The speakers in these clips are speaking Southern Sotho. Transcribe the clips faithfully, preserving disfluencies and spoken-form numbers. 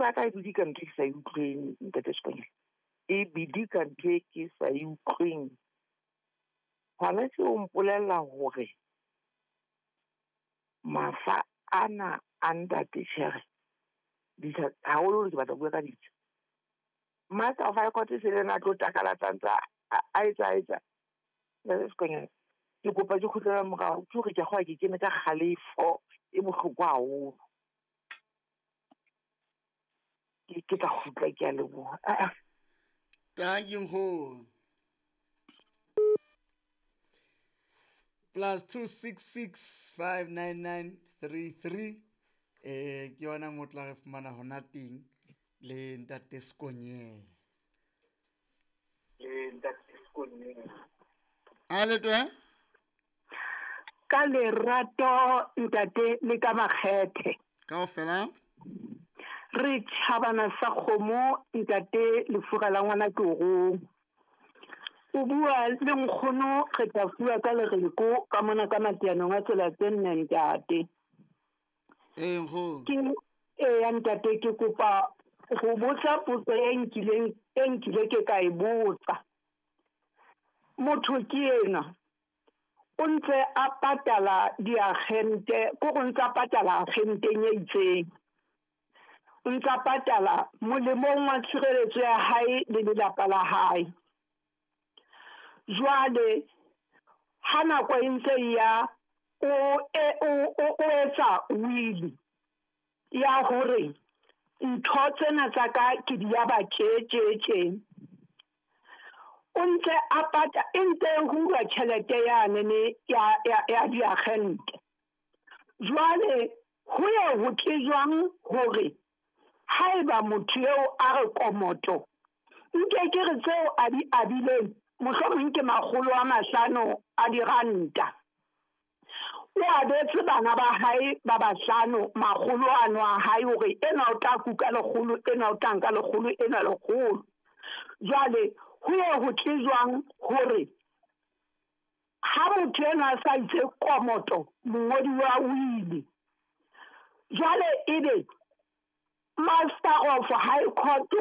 ya ka e bidika ntho e ke sa e utlweng, ntate Sekonyela. E bidika ntho e ke sa e utlweng. Hona tje o mpolella hore mafa ana a ntate Tjhere, ditsha haholo ke batla ho bua ka ditsha. Master of High Court se le yena a tlo takalatsa ntse a etsa etsa. Ntate Sekonyela, ke kopa ke kgutlele morao, ke hore ke a kgolwa ke kene ka kgalefo e bohloko haholo. Ke ke tla kgutla, ke a leboha. Ah, ah. Thank you, nkgono. Plus two six six five nine nine three three. Eh, ke yona mo tla re fumana hona teng le ntate Sekonyela. Le ntate Sekonyela. A le twe? Ka lerato ntate le ka makgethe. Kaofela? Re tjhabana sa kgomo ntate lefura la ngwana ke o rong. O bua le nkgono re tla fuwa ka lereko ka mona ka matianong a tsela tse nne ntate. Ee, nkgono. Ke eya ntate, ke kopa ho botsa potso e nkileng, e nkile ke ka e botsa. Motho ke ena o ntse a patala diagente, ko go ntse a patala agenteng e itseng. O ntse a patala molemong wa tshireletso ya hae le lelapa la hae. Jwale ha nako e ntse e ya, o, e, o, o, o etsa will ya hore ntho tsena tsa ka ke di ya ba tje, tje, tje. O ntse a pata, e ntse e hulwa tjhelete yane ne ya, ya, ya diagente. Jwale ho ye ho tle jwang hore haeba motho eo a re komoto, nke ke re tseo a di abileng, mohlomong ke makgolo a mahlano a diranta. O abetse bana ba hae ba bahlano makgolo ano a hae hore enwa o tla kuka lekgolo, enwa o tla nka lekgolo, enwa lekgolo. Jwale ho ye ho tle jwang hore ha motho enwa a sa itse komoto, mongodi wa wili, jwale ebe Master of High Court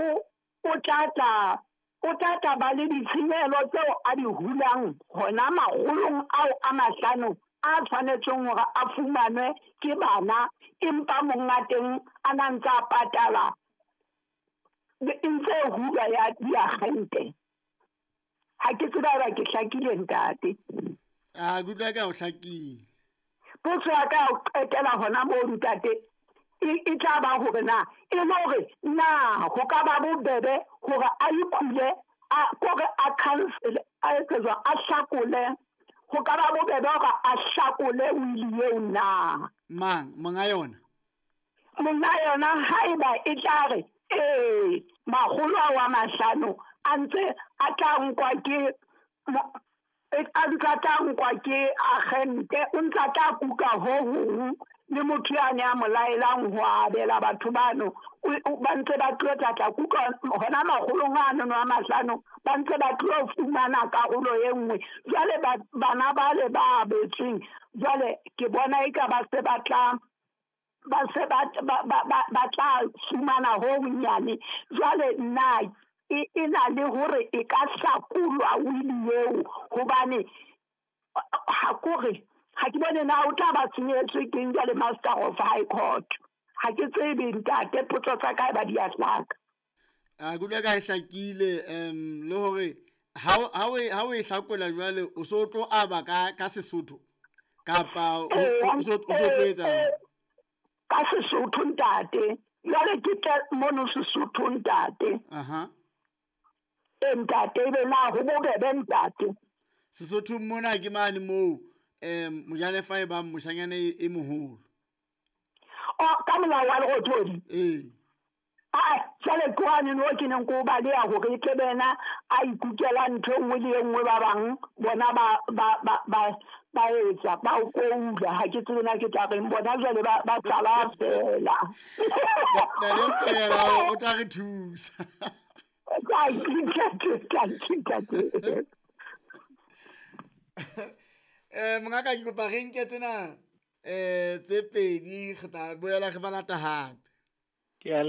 o tla tla, o tla tla ba le ditshenyehelo tseo a di hulang hona makgolong ao a mahlano a tshwanetseng hore a fumanwe ke bana, empa monga teng a na ntse a patala, e ntse e hulwa ya diagente. Ha ke tsebe haeba ke hlakile ntate. Ah, ke utlwa ka o hlakile. Potso ya ka ya ho qetela hona moo ntate, e, e tla ba hore na, e le hore na ho ka ba bobebe hore a ikhule, a, kore a cancel, a etse jwang, a hlakole, ho ka ba bobebe hore a hlakole wili eo na? Mang, monga yona? Monga yona haeba e tla re, ee, makgolo ao a mahlano a ntse a tla nkwa ke mo-, a ntse a tla nkwa ke agente, o ntse a tla kuka ho hong le motho yane a mo laelang ho abela batho bano, o, o, ba ntse ba tlo tla tla kuka hona makgolong ano a mahlano, ba ntse ba tlo fumana karolo e nngwe. Jwale ba-, bana bale ba abetsweng, jwale ke bona eka ba se ba tla, ba se ba, ba, ba, ba, ba tla fumana ho honyane. Jwale nna e, e na le hore e ka hlakolwa wili eo, hobane ha kore ha ke bone na o tla ba senyetswe ke eng jwale Master of High Court. Ha ke tsebe ntate, potso tsa ka ba di a hlaka. A ke utlwa ka e hlakile, em, le hore ha o, ha o e, ha o e hlakola jwale o so tlo aba ka, ka Sesotho kapa o, Ee, o so, o so tlo ee, etsa? ee, ka Sesotho ntate. Jwale ke tle mono Sesotho ntate. Aha. Ee, ntate, ebe na ho bobebe ntate. Sesotho mona ke mane moo, em, mojalefa e bang moshanyana e, e moholo. O, ka molao wa Lerothodi? Ee. Ah, jwale ke hwane no ke neng ke o baleha hore e tle be yena a ikukela ntho e nngwe le e nngwe, ba bang bona ba, ba, ba, ba, ba etsa, ba o koula. Ha ke tsebe na ke tla reng, bona jwale ba, ba sala fela. Ntate Sekonyela o tla re thusa. Thank you, ntate, thank you, ntate. Eh, mongaka, ke kopa re nke tsena, eh, tse pedi, re tla boela re ba lata hape. Ke a